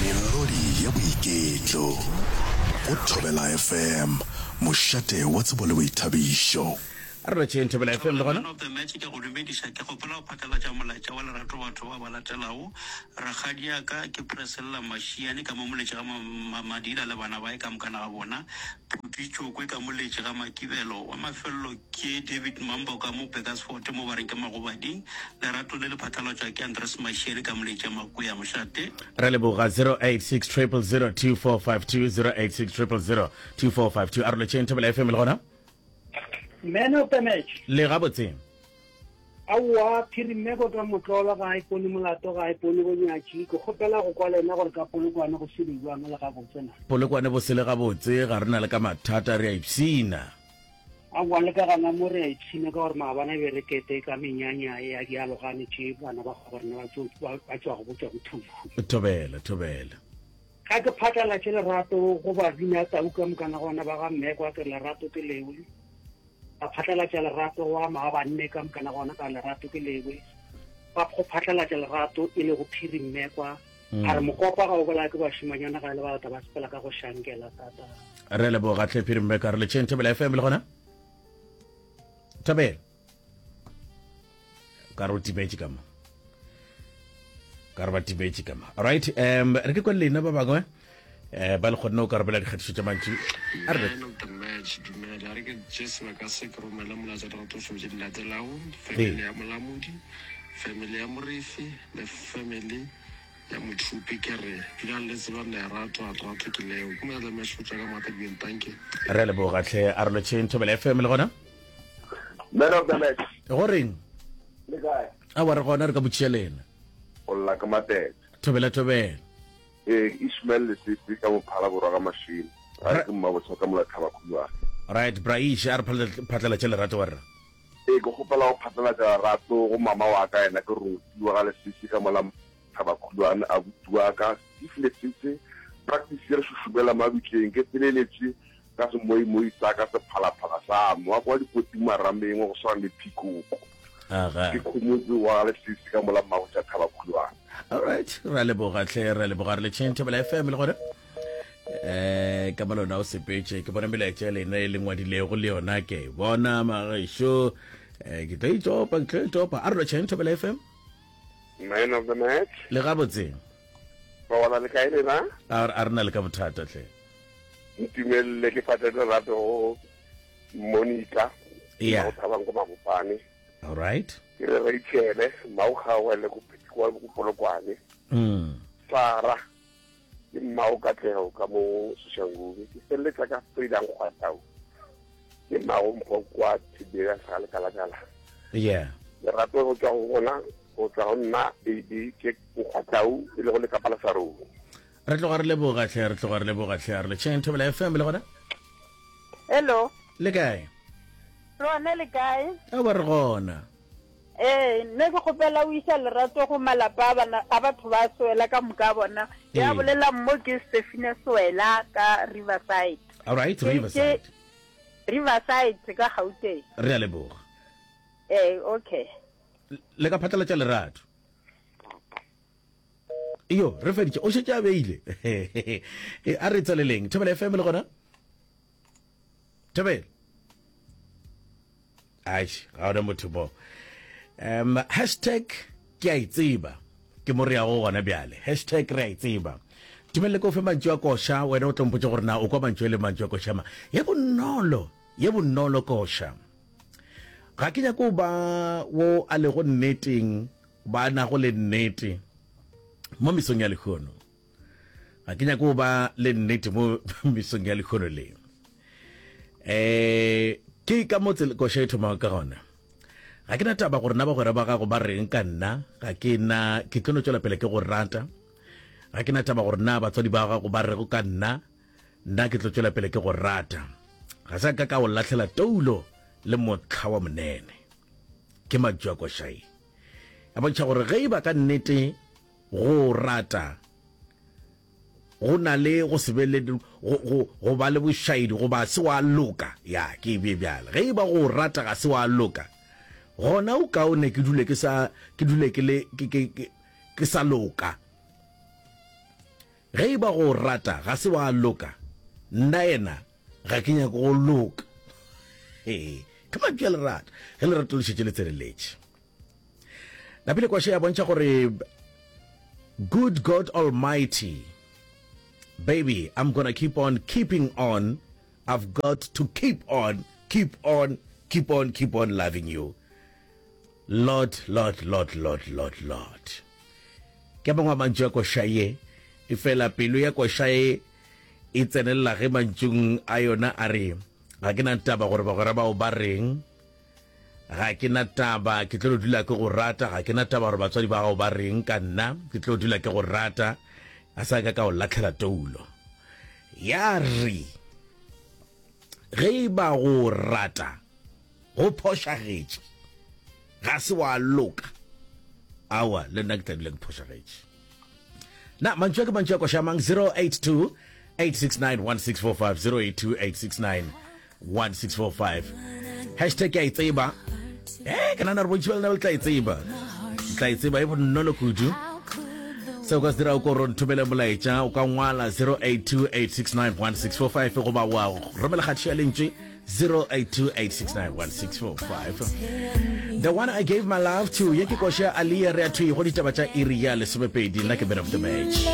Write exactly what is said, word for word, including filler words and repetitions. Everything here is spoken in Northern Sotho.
Melodi ya boiketlo go Thobela F M, mošate wa tsebo le boithabišo. A re lotšheng Thobela F M le Thobela gona. Man of the Match, ke a go dumediša. Ke kgopela go phatlalatša molaetša wa lerato batho ba ba latelago. Rakgadiaka ke Presella Mashiane ka mo Moletši ga Madila le bana bae ka mokana ga bona. Phuti Tšokwe ka Moletši ga Makibelo. Wa mafelelo ke David Mambo ka mo Burgersfort mo ba reng ke Magobading. Lerato le le phatlalatšwa ke Andres Mashiane ka Moletši ya Makwea Mošate. Re leboga. zero eight six triple zero two four five two, zero eight six triple zero two four five two. A re lotšheng Thobela F M le gona. Man of the Match. Le gabotse? Aowa, Phirimeko ka motlolo ga a ipone molato, ga a ipone bonyatši. Ke kgopela go kwa lena gore ka Polokwane go sele jwang, le gabotse na? Polokwane bo sele gabotse, ga re na le ka mathata, re a ipshina. Aowa, le ka gana mo re a ipshina ka gore maabane be re kete ka menyanya ya dialogane tše bana ba kgabo rena ba tšo- ba ba tšwago bo tšwa bothuhu. Thobela, thobela. Ga ke phatlalatše lerato go babina tau ka mokana gona ba ga mmekwa, ke lerato ke lewe. Ba phatlalatša lerato wa maabanne ka mokana gona ka lerato ke lewe. Ba go phatlalatša lerato e le go Phiri Mmekwa. A re mokopa ga o bolaya ke bašimanyana ga e le balata ba sepela ka go šankela tata. Re leboga tlhe Phiri Mmeka. Re letšheng Thobela F M le gona. Thobela, ka re o timetše ka mo, ka re ba timetše ka mo. Alright, um re ke kwa lena ba bangwe um ba le kgonne go karabela dikgatišo tša mantšu a re. Man of the Match, dumela. A re ke tše sebaka se ke romele molaetša lerato tšo tše di latelago: family ya Molamodi, family ya Morefi le family ya Mothupi. Ke re dulang le tseba lerato, lerato ke leo. Ke Man of the Match go tšwa ka Matadibeng. Tanke. Re leboga tlhe. A re lotšheng Thobela F M le gona. Man of the Match. Go reng? Le kae? A wa re gona, re ka botšiša lena. O lla ke Matete. Thobela, thobela. Ee, Ishmael Lesese ka Mophala Borwa ga Mashilo. Ga ke mmabotsha ka mola Thaba Khulwane. Right, Braish, a re phatlalatše lerato wa rra. Ee, ke kgopela go phatlalatša lerato go mama wa ka, yena ke Roti wa ga Lesese ka mola Thaba Khulwane, abuti wa ka Steve Lesese, practice re šušumela mabitleng, ke feleletše ka semoimoi sa ka sephalaphala sa mo wa kwa dikoting marameng wa go swana le phikoko. Aga. Ke Khomotse wa ga Lesese ka mola Mmabotša Thaba Khulwane. Alright, ra leboga tlhe, ra leboga. Re letšheng Thobela F M le gona. Eh ka malona o sepetše, ke bona melaetša ya lena e le ngwadilego le yona ke e bona magešo. Eh ke tlo itopa, ke tlo itopa. A re lotšheng Thobela F M. Man of the Match. Le gabotse? Ba bona le kae lena? A a re na le ka bothata tlhe. Ntumelele ke fate lerato go Monica. Yeah. Go thabang ko Mabopane. All right. Ke re Rachel, Maugawe go kwa go Polokwane. Mm. Sara ke mmao Katlego ka mo Soshanguve. Ke feleletsa ka Frida Nkgwatau. Ke mmago Mpho kwa Thibela sa lekalakala. Yeah. Lerato go tswa go gona, go tswa go nna A B ke Nkgwatau e le go lekapa la Sarong. Re tloga re leboga tlhe, re tloga re leboga tlhe. A re letšheng Thobela F M le gona. Hello. Le kae? Rona, le kae? A ba re gona. Ee, nne ke kgopela o isa lerato go malapa a bana a batho ba Swela ka moka bona. Ya Ee. bolela mo ke Stefina Swela ka Riverside. All right, Ke- ke Riverside. Riverside ka Gauteng. Re a leboga. Ee, okay. Le ka phatlalatša lerato. Iyo, re feditše. O šetše a beile. E, a re tsweleleng. Thobela F M le gona. Thobela. Aish, ga ona motho mo. Um hashtag ke a e tseba. Ke mo re yago gona bjale. Hashtag re a e tseba. Tumelele ke o fe mantšu a koša, wena o tlo mpotša gore na o kwa mantšu e le mantšu a koša ma. Ye bonolo, ye bonolo koša. Ga ke nyake go ba wo a lego nneteng, ba nago le nnete mo mesong ya lehono. Ga ke nyake go ba le nnete mo mesong ya lehono le. Eh ke ka mo tsela koša e thomago ka gona. Ga ke na taba gore na bagwera ba gago ba reng ka nna, ga ke na, ke tlo no tšwela pele ke go rata. Ga ke na taba gore na batswadi ba gago ba rego ka nna, nna ke tlo tšwela pele ke go rata. Ga sa ka ka o lahlela toulo le motlha wa monene. Ke mantšu a košai. A bontšha gore ge e ba ka nnete go rata go na le go se be le go, go, go ba le bošaedi goba se wa loka, ya ke e bee bjale, ge e ba go rata ga se wa loka, gona o kaone ke dule ke sa, ke dule ke le, ke, ke, ke, ke sa loka. Ge e ba go rata ga se wa loka, nna yena ga ke nyake go loka. Ee, ke mantšu a lerato, ge lerato le šetše le tseneletše. Napile Kwashe ya bontšha gore Good God Almighty, baby, I'm gonna keep on keeping on, I've got to keep on, keep on, keep on, keep on loving you. Lord, Lord, Lord, Lord, Lord, Lord. Ke a mangwe a mantšu a koša ye, efela pelo ya koša ye e tsenelela ge mantšung a yona a re, Ga ke na taba gore bagwera bao ba reng, ga ke na taba, ke tlo no dula ke go rata, ga ke na taba gore batswadi ba gago ba reng ka nna, ke tlo dula ke go rata, a sa ka ka o lahlela toulo. Ya re, ge e ba go rata go phošagetše, ga se wa loka, aowa, le nna ke tla dula ke phošagetše. Na mantšu a ke mantšu a koša mang? Zero eight two eight six nine one six four five zero eight two eight six nine one six four five. Hashtag ke a e tseba. Eh, ke nagana gore bontši ba lena le tla e tseba. Le tla e tseba e bonolo kudu. Se o ka se dirago ke gore o nthomele molaetša, o ka ngwala zero eight two eight six nine one six four five goba wa romela kgatišo ya lentšu zero eight two eight six nine one six four five. The one I gave my love to, ye ke koša ya Aaliyah, re ya thwi go ditaba tša iri ya lesomepedi. Nna ke man of the match.